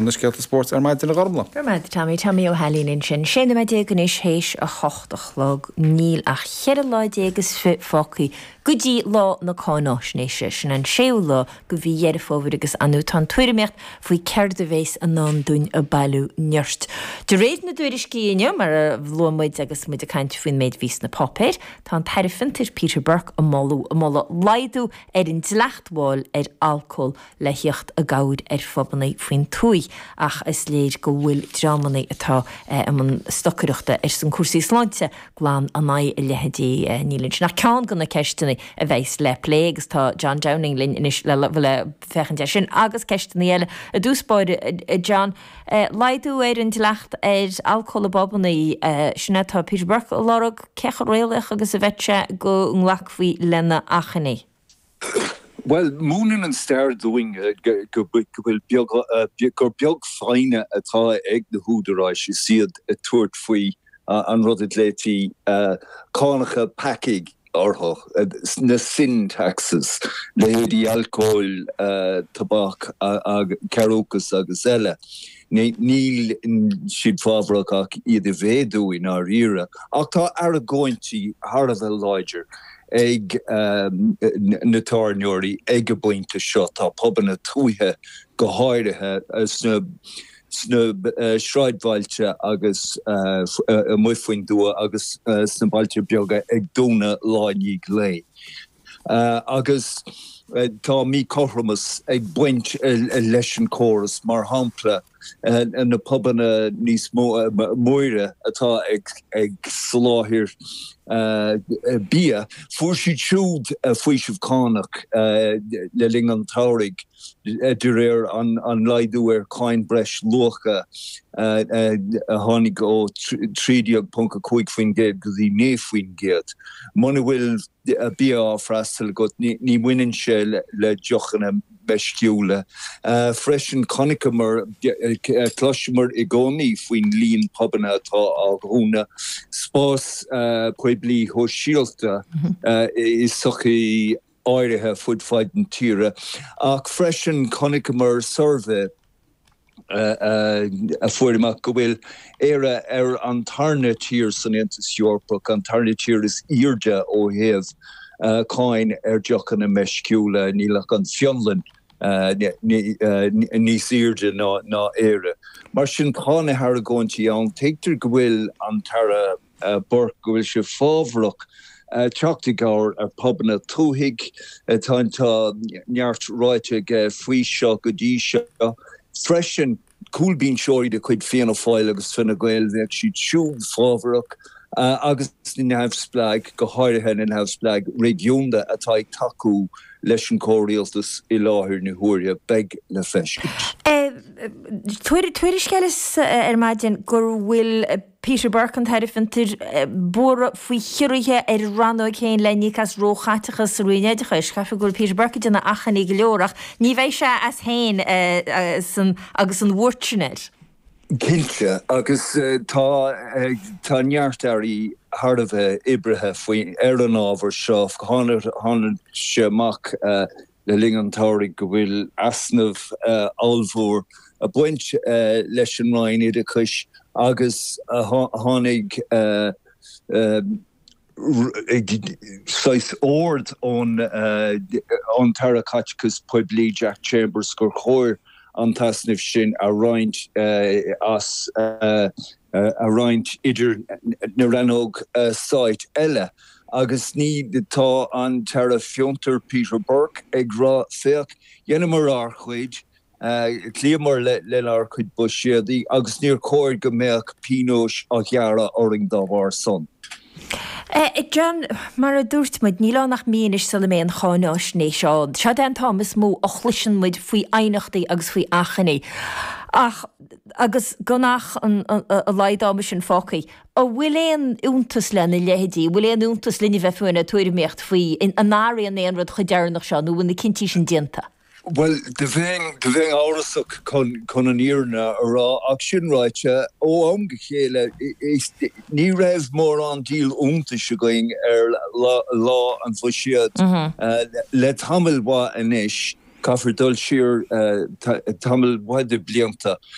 Na scéalta spóirt ar maidin a Ghormlaith. Go raibh maith agat Tommy. Tommy Ó hAilín ansin. 16 nóiméad anois théis a hocht a chlog. Níl ach cheithre lá déag is fi fágtha go dtí lá na cáináisnéise. Sin an séú lá de mhí Dheireadh Fómhair agus ar ndóigh tá an tuairimíocht faoi céard a bhéas i ndán dúinn ag bailiú nirt. De réir na dtuairiscí inniu, mar a luaigh muid agus muid ag caint faoin méid a bhí sna páipéir, tá an tAire Fiontair Peter Burke ag moladh ag moladh laghdú ar an dleacht mháil ar alcól le thíocht i gcabhair ar phubanna faoin tuaith ach is léir go bhfuil dreamanna atá i mbun stocaireachta ar son cúrsaí sláinte glan in aghaidh a leithéidí. Níl ansin ach ceann de na ceisteanna a bheas le plé agus tá John Downing linn anois le le féachaint air sin agus ceisteanna eile. I dtús báire, a John, laghdú ar an dleacht ar alcól i bpubanna, sin é atá Peter Burke a lorg, cé chomh réalaíoch agus a bheadh sé go nglacfaí lena achainí? Bhuel, múineann an stair dúinn go bhfuil beag, gur beag foighne atá ag na húdaráis is iad ag tabhairt faoi an rud a ghlaoití cánacha peacaigh orthu, na sin taxes, leithéidí alcóil, tobac, cearúcas agus eile. Níl siad fábharach ach iad a mhéadú i ndáiríre. Ach tá argóintí thar a bheith láidir ag na tábhairneoirí ag an bpointe seo. Tá pubanna tuaithe go háirithe sna sráidbhailte agus amuigh faoin dtuath agus sna bailte beaga ag dúnadh lá i ndiaidh lae. Agus tá míchothromas ag baint leis an chóras, mar shampla na pubanna níos móire atá ag soláthar bia, fuair siad siúd faoiseamh cánach le linn an tsamhraidh de réir an laghdú ar cháin breis luacha a tháinig ó 13.5% go dtí 9%. Muna bhfuil bia á freastal agat, ní bhaineann sé le deochanna meisciúla. Freisin, chonaiceamar, chloiseamar i gcónaí faoin líon pubanna atá á dhúnadh, spás poiblí shóisialta i sochaí áirithe fud fad na tíre. Ach freisin, chonaiceamar suirbhé a fuair amach go bhfuil Éire ar an tarna tír san Aontas Eorpach, an tarna tír is airde ó thaobh cáin ar deochanna meisciúla, níl ach an Fionlainn níos airde ná Éire. Mar sin, tá na hargóintí ann. Tuigtear go bhfuil an tAire Burke, go bhfuil sé fábharach teacht i gcabhair ar phubanna tuaithe. Tá neart ráite aige faoi seo go dtí seo. Freisin, cúlbhinseoirí de chuid Fianna Fáil agus Fine Gael, bheadh siad siúd fábharach, agus na neamhspleáigh, go háirithe na neamhspleáigh réigiúnda atá ag tacú leis an chomhrialtas i láthair na huaire. Beidh le feiscint. Tuairisc eile ar maidin go bhfuil Peter Burke, an tAire Fiontair, buartha faoi chiorruithe ar a rannóg féin le n-íoc as róchaiteachas sa Roinn Oideachais. Caithfidh go bhfuil Peter Burke ag déanamh achainí go leor ach ní bheidh sé as féin agus an bhuairt sin air. Cinnte, agus tá tá neart airí thar a bheith oibrithe faoi ar an ábhar seo. Tháinig sé amach le linn an tsamhraidh go bhfuil easnamh ollmhór ag baint leis an Roinn Oideachais agus tháinig saghas ord ón tAire Caiteachais Poiblí Jack Chambers gur chóir an t-easnamh sin a roinnt as a roinnt idir na rannóg stáit eile agus ní tá an tAire Fiontair Peter Burke ag rá féach, dheineamar ár chuid, chloíomar lenár chuid buiséadaí agus níor chóir go mbeadh pionóis á ghearradh orainn dá bharr san. John, mar a dúirt muid, níl ann ach mí anois sula mbeidh an cháináisnéis ann. Seod é an t-am is mó a chloiseann muid faoi aighneachtaí agus faoi achainí. Ach, agus gan ach a laghad ama sin fágtha, an bhfuil aon fhiúntas lena leithéidí? An bhfuil aon fhiúntas linn a bheith fiú ag tuairimíocht faoi, an athraíonn aon rud chomh deireanach seo nó an bhfuil na cinntí sin déanta? Bhuel, do bheinn, do bheinn amhrasach chun, chun an fhírinne a rá, ach sin ráite, ó am go chéile, is, ní raibh mórán díol iontais againn ar lá, lá an Bhuiséid le tamall mhaith anois. Caithfear dul siar tamall mhaith de blianta.